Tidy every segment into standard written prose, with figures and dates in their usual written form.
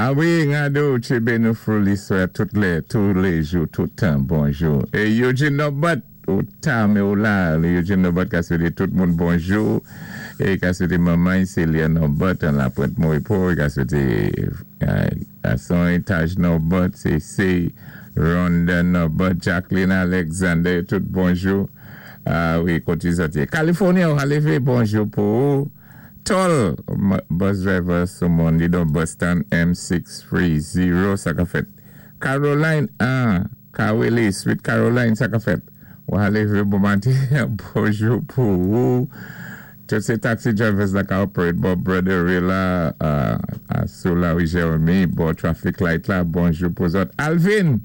A wi, Ngado, tchébé nou fou liswè tout lè, tou léjou, tout tan, bonjou. É Eugene Norbert, ou ta, mé ou la, Eugene Norbert ka swété tout moun bonjou, é ka swété manman Célia Norbert an Lapwent Monrepo, i ka swété gason Taj Norbert, Cécé, Rhonda Norbert, Jacqueline Alexander, tout bonjou. A wi, koté zòt yé? California, ou levé, bonjou pou ou. Tol, bus driver sou Mondidon Boston M630, sa ka fèt. Caroline 1, Kawele, Sweet Caroline, sa ka fèt. Ou levé bon maten, bonjou pou ou. Tout sé taxi drivers la ka operate bò Broderie la, sou la wi Jeremy, bò traffic light la, bonjou pou zòt. Alvin,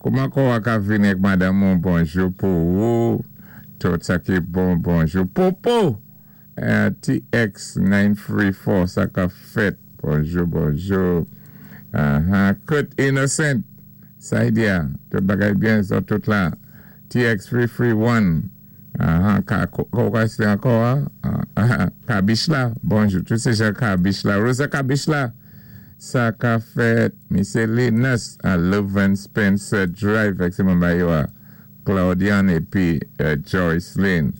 kouman kon wak a vini ak madanm ou, bonjou pou ou. Tout sa ki bon, bonjou. Popo, TX934, sa ka fèt. Bonjou, bonjou. Kurt Innocent, Saidia, tout bagay byen, zòt tout la. TX331, ka, kwa sé ankò, Kabich la, bonjou. Tout sé jan Kabich la. Rosa Kabich la, sa ka fèt. Misé Linus, a Leuven Spencer Drive, ak sé manman yo a. Claudian épi Joyce Lynn.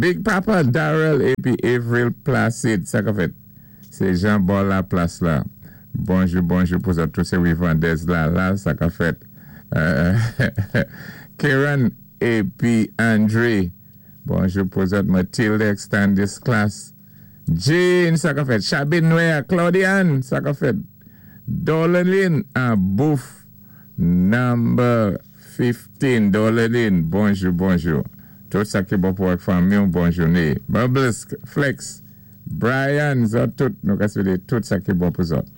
Big Papa Darrell épi Avril Placide, sa ka fèt. Sé Jean bò la plas la. Bonjou, bonjou pou zòt tout sé Wivandez la la, sa ka fèt. Karen épi Andre. Bonjou pou zòt Mathilde Extended Class. Jean, sa ka fèt. Chabine Noir, Claudiane, sa ka fèt. Dolalin a Bouf number 15. Dolalin, bonjou, bonjou. Tout sa ki bon pou ak fanmi, bon jouné. Bubbles, Flex, Brian, zòt tout, nou ka swété tout sa ki bon pou zòt.